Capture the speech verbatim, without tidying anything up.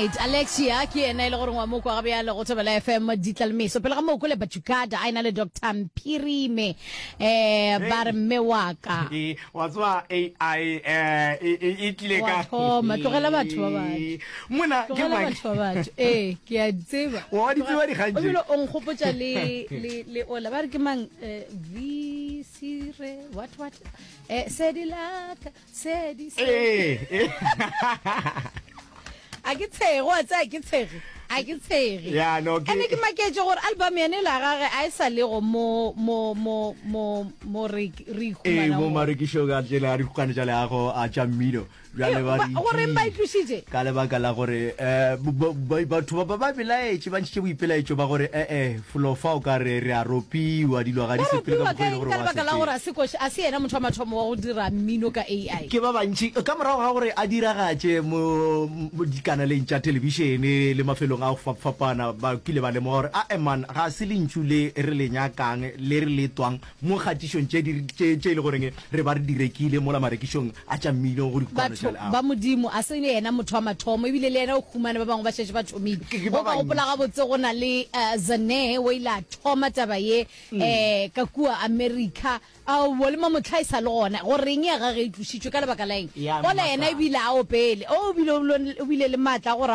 Alright, Alexia ke yena e le gore wa mo kwa bjale go Thobela F M ditlalmeso. Pele ga moo kole Bachukada a ena le Doctor Mphirime, eh ba re mme wa ka. Ee, wa tseba A I eh e e- e tlile Wa ka thoma, tlogela batho ba batho. Mona ke Tlogela mang? batho ba batho. Ee, ke a di tseba. Wa di tseba dikgang tše? O bile o nkgopotša le le le ola ba re ke mang, eh, V Sire what what eh sedi laka sedi sedi. Ee, ee. A ke tshege, wa tsaya, ke tshege, a ke tshege. Ya, no, ke- Ene ke maketše gore album yene la gage a e sa lego mo mo mo mo mo re re Ee, ikhumana mo gona. marekišong a tsela a dikgokane tša leago a tša mmino bjale ba re Ba- goreng ba e tlošitše? Ka lebaka la gore um batho ba ba belaetše, ba ntšhitše boipelaetšo ba gore ee, felo fa o ka re re a ropiwa, dilo ga di Ba sepele ka ropiwa mokgwa e ka le eng? gore Ka wa lebaka la sepela. gore a se koše, a se yena motho wa mathomo wa go dira mmino ka A I. Ke ba bantši ka morago ga gore a diragatše mo mo dikanaleng tša thelebišene le mafelong a go fapafapana, ba kile ba lemoga gore ae man, ga se lentšu le re le nyakang le re le twang mo kgatišong tše di tše tše e le goreng re ba re di rekile mola marekišong a tša mmino go dikopano tša Batho leago. ba Modimo, a se yena motho wa mathomo, ebile le yena o humane ba bangwe ba šetše ba thomile. Ke ke Go ba ka gopola bantši. gabotse go na le uh, Zane o ile a thoma taba ye um ka kua America. Aowa, le mamotlha e sa le gona. Goreng ya gage e tlošitšwe ka lebaka la eng? Ya Ola yena mmakala. ebile a opele. O bile o bile le maatla a gore a